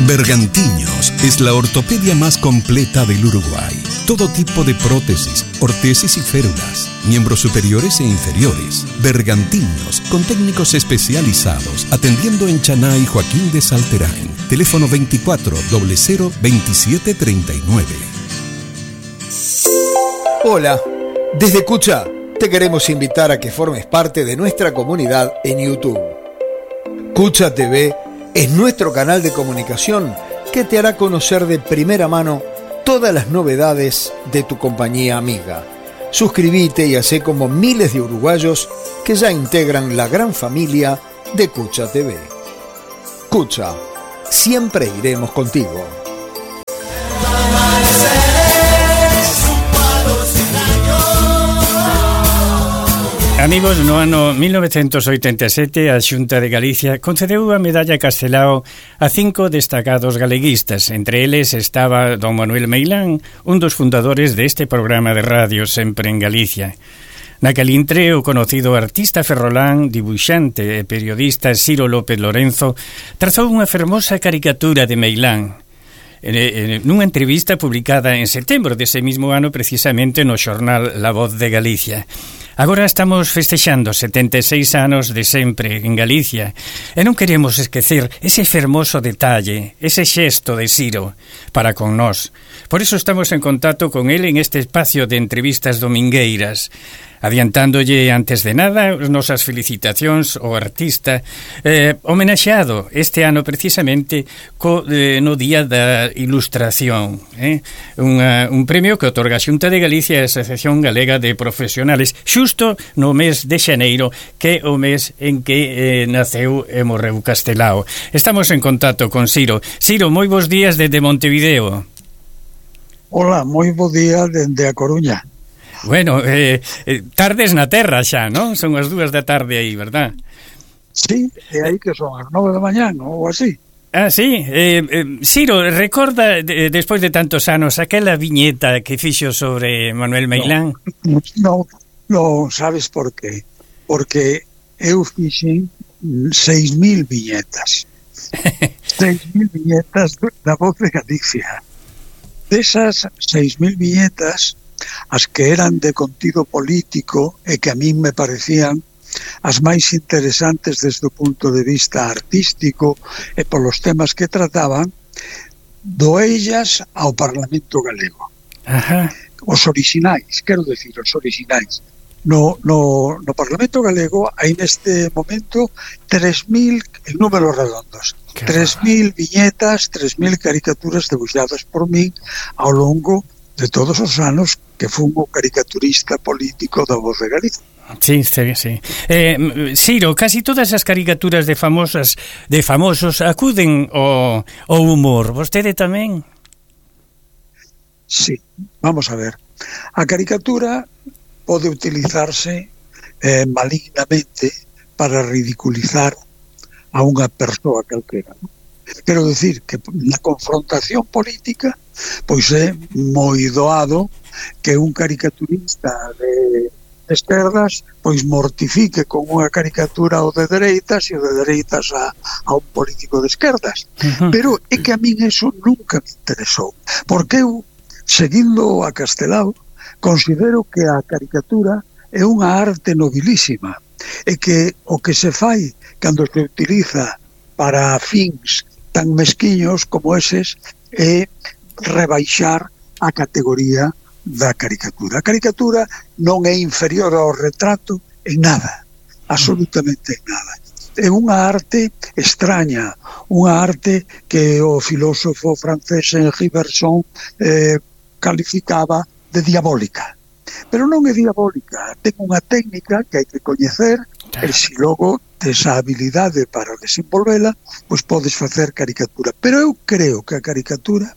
Bergantiños es la ortopedia más completa del Uruguay. Todo tipo de prótesis, ortesis y férulas, miembros superiores e inferiores. Bergantiños, con técnicos especializados, atendiendo en Chaná y Joaquín de Salterain. Teléfono 24 00 27 39. Hola, desde Cucha te queremos invitar a que formes parte de nuestra comunidad en YouTube. Cucha TV es nuestro canal de comunicación que te hará conocer de primera mano todas las novedades de tu compañía amiga. Suscríbete y hacé como miles de uruguayos que ya integran la gran familia de Cucha TV. Cucha, siempre iremos contigo. Amigos, no ano 1987 a Xunta de Galicia concedeu a medalla Castelao a 5 destacados galeguistas. Entre eles estaba don Manuel Meilán, un dos fundadores deste programa de radio Sempre en Galicia. Naquel intre, o conocido artista ferrolán, dibuixante e periodista Ciro López Lorenzo trazou unha fermosa caricatura de Meilán. Nunha entrevista publicada en setembro dese mismo ano, precisamente no xornal La Voz de Galicia. Agora estamos festexando 76 anos de Sempre en Galicia e non queremos esquecer ese fermoso detalle, ese xesto de Ciro para con nós. Por iso estamos en contacto con ele en este espacio de entrevistas domingueiras, adiantándolle antes de nada as nosas felicitacións ao artista homenaxeado este ano precisamente no Día da Ilustración, un premio que otorga a Xunta de Galicia e a Asociación Galega de Profesionales xusto no mes de xaneiro, que é o mes en que naceu e morreu Castelao. Estamos en contacto con Ciro. Ciro, moi bons días desde Montevideo. Hola, moi bo día dende A Coruña. Bueno, tardes na terra xa, non? Son as 2 da tarde aí, verdad? Sí, e aí que son as 9 da mañán ou así. Ah, sí. Ciro, recorda, despois de tantos anos, aquela viñeta que fixo sobre Manuel Meilán? Non, sabes por qué? Porque eu fixen 6.000 viñetas. 6.000 viñetas da Voz de Galicia. Desas 6.000 viñetas, as que eran de contido político e que a min me parecían as máis interesantes desde o punto de vista artístico e polos temas que trataban, doellas ao Parlamento Galego. Ajá. Os orixinais, quero decir, os orixinais. No Parlamento Galego hai neste momento 3.000, en números redondos, 3.000 viñetas, 3.000 caricaturas debuxadas por min ao longo de todos os anos que fun o caricaturista político da Voz de Galicia. Sí. Ciro, casi todas as caricaturas de famosos acuden ao humor. Vostede tamén? Sí, vamos a ver. A caricatura pode utilizarse malignamente para ridiculizar a unha persoa calquera. Quero decir que na confrontación política pois é moi doado que un caricaturista de esquerdas pois mortifique con unha caricatura o de dereitas e o de dereitas a un político de esquerdas. Pero é que a min eso nunca me interesou, porque eu, seguindo a Castelao, considero que a caricatura é unha arte nobilísima e que o que se fai cando se utiliza para fins tan mesquiños como eses é rebaixar a categoría da caricatura. A caricatura non é inferior ao retrato en nada, absolutamente en nada. É unha arte extraña, unha arte que o filósofo francés Henri Bergson calificaba de diabólica. Pero non é diabólica, ten unha técnica que hai que coñecer e se logo desa habilidade para desenvolvela, pois podes facer caricatura. Pero eu creo que a caricatura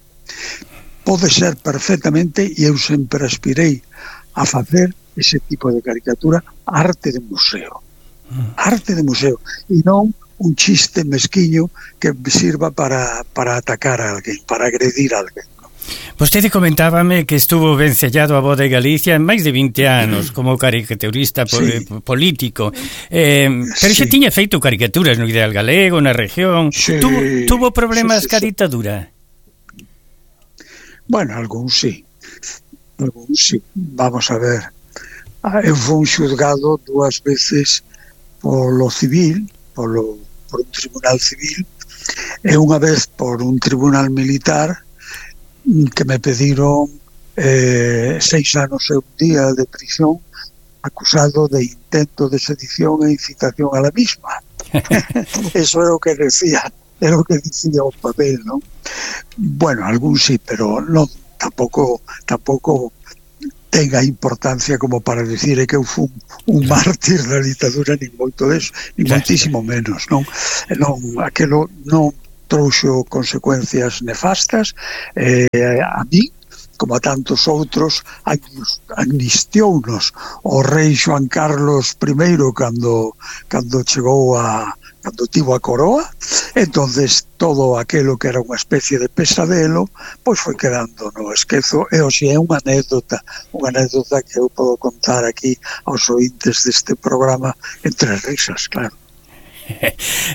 pode ser perfectamente, e eu sempre aspirei a facer ese tipo de caricatura, arte de museo. Arte de museo, e non un chiste mesquiño que sirva para atacar a alguén, para agredir a alguén. Vostede comentábame que estuvo vencellado a Voz de Galicia en máis de 20 anos como caricaturista político. Pero xa tiña feito caricaturas no Ideal Galego, na región. Tuvo problemas ca ditadura? Bueno, algún sí. Vamos a ver. Eu fui xulgado 2 veces polo civil, por un tribunal civil, e unha vez por un tribunal militar, que me pediron 6 anos e un día de prisión acusado de intento de sedición e incitación a la misma. Eso era o que decía o papel, ¿no? Bueno, algún sí, pero non, tampouco tenga importancia como para decir que eu fui un mártir da ditadura, nin moito deso, nin moitísimo menos, non? Aquelo non trouxo consecuencias nefastas. A mí, como a tantos outros, amnistiounos o rei Xoán Carlos I cando chegou cando tivo a coroa. Entonces todo aquilo que era unha especie de pesadelo pois foi quedando no esquezo, e hoxe é unha anécdota que eu podo contar aquí aos ointes deste programa entre risas, claro.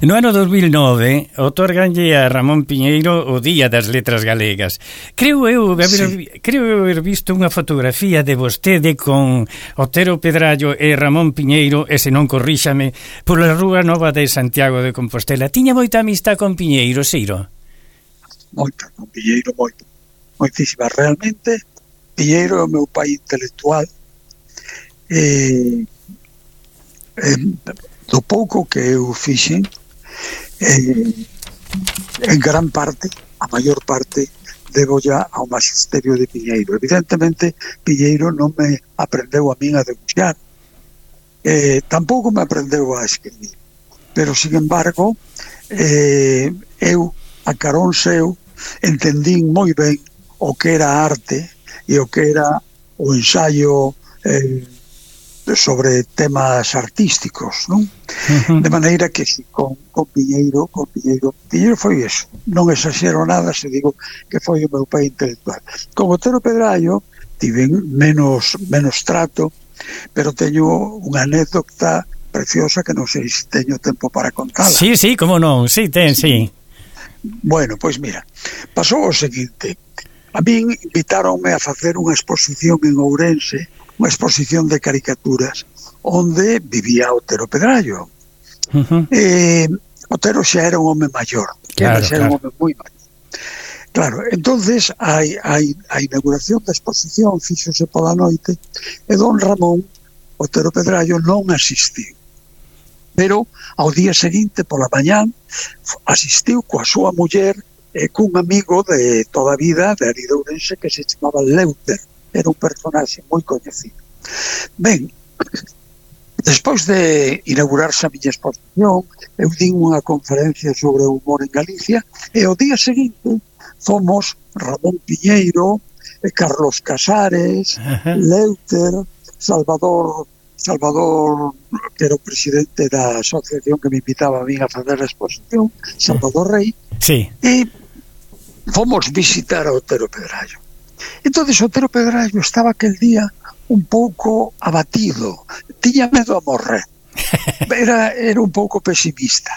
No ano 2009 otorganlle a Ramón Piñeiro o Día das Letras Galegas. Creo haber visto unha fotografía de vostede con Otero Pedrallo e Ramón Piñeiro, e se non corríxame, pola Rúa Nova de Santiago de Compostela. Tiña moita amistad con Piñeiro, Ciro? Moita, con Piñeiro, moitísima. Realmente, Piñeiro é o meu pai intelectual. Do pouco que eu fixen, en gran parte, a maior parte, debo ya ao magisterio de Piñeiro. Evidentemente, Piñeiro non me aprendeu a min a debuxar, tampouco me aprendeu a escribir, pero, sin embargo, eu, a carón seu, entendín moi ben o que era arte e o que era o ensaio sobre temas artísticos, non? De maneira que con Piñeiro foi eso. Non exagero nada se digo que foi o meu pai intelectual. Con Otero Pedrallo tiven menos trato, pero teño unha anécdota preciosa que non sei se teño tempo para contala. Sí, como non, sí. Bueno, pois mira, pasou o seguinte. A min invitáronme a facer unha exposición en Ourense, unha exposición de caricaturas onde vivía Otero Pedrallo. Otero xa era un home maior, un home moi maior. Claro, entonces a inauguración da exposición fíxose pola noite e don Ramón Otero Pedrallo non asistiu, pero ao día seguinte pola mañán asistiu coa súa muller e cun amigo de toda a vida de ali de Ourense que se chamaba Leuter. Era un personaxe moi coñecido. Ben, despois de inaugurarse a miña exposición, eu din unha conferencia sobre o humor en Galicia, e o día seguinte fomos Ramón Piñeiro, Carlos Casares, Leuter, Salvador, que era o presidente da asociación que me invitaba a mí a fazer a exposición, Salvador Rey, e fomos visitar a Otero Pedrallo. Entonces Otero Pedrallo estaba aquel día un pouco abatido, tiña medo a morrer. Era un pouco pesimista,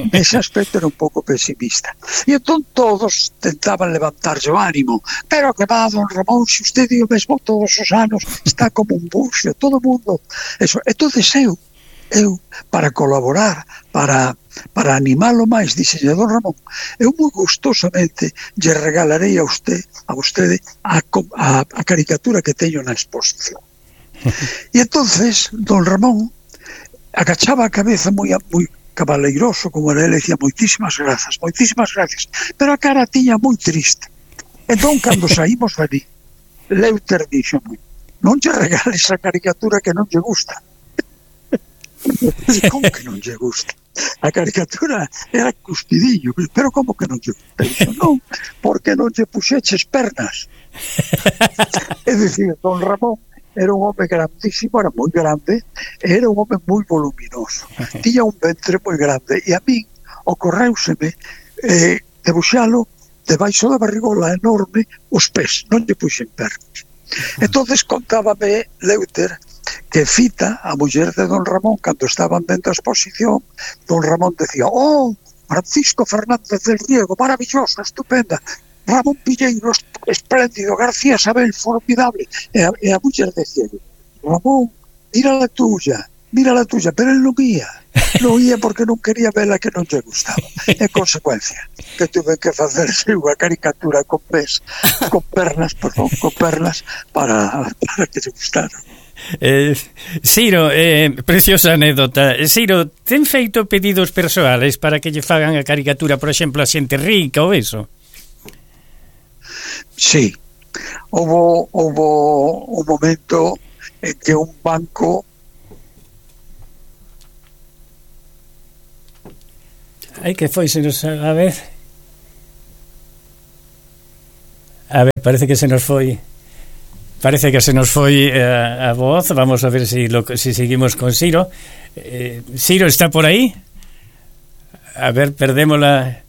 nese aspecto era un pouco pesimista. E entón todos tentaban levantarlle o ánimo. Pero que va, don Ramón, se usted dio mesmo todos os anos, está como un buxo, todo o mundo. Eso. Entonces eu, para colaborar, para animalo máis, dixenlle, don Ramón, eu moi gustosamente lle regalarei a vostede a caricatura que teño na exposición. E entonces don Ramón agachaba a cabeza moi cabaleiroso, como era, ele dicía moitísimas grazas, pero a cara tiña moi triste. Entón, cando saímos dali, Leuter dixo, non lle regales a caricatura que non lle gusta. Como que non lle gusta? A caricatura era cuspidillo, pero como que non lle gusta? Dixo, non, porque non lle puxeches pernas. É dicir, don Ramón era un home grandísimo, era moi grande, era un home moi voluminoso, tiña un ventre moi grande, e a min ocorreuseme debuxalo debaixo da barrigola enorme os pés, non lle puxen pernas. Entonces contábame Leuter que Fita, a muller de don Ramón, cando estaban vendo a exposición, don Ramón decía: oh, Francisco Fernández del Riego, maravilloso, estupenda, Ramón Pilleiro, espléndido, García Sabel, formidable. E a muller decía: Ramón, mira la tuya, pero él non ia porque non quería vela, que non lle gustaba. En consecuencia, que tuve que facerse unha caricatura con pernas para que lle gustara. Ciro, preciosa anécdota. Ciro, ten feito pedidos persoales para que lle fagan a caricatura, por exemplo, a xente rica ou eso? Sí, houve un momento en que un banco... Ai, que foi, se nos... A ver, parece que se nos foi a voz. Vamos a ver si seguimos con Ciro. Ciro, ¿está por ahí? A ver, perdémosla.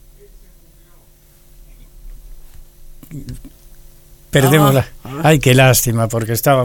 Ay, qué lástima, porque estaba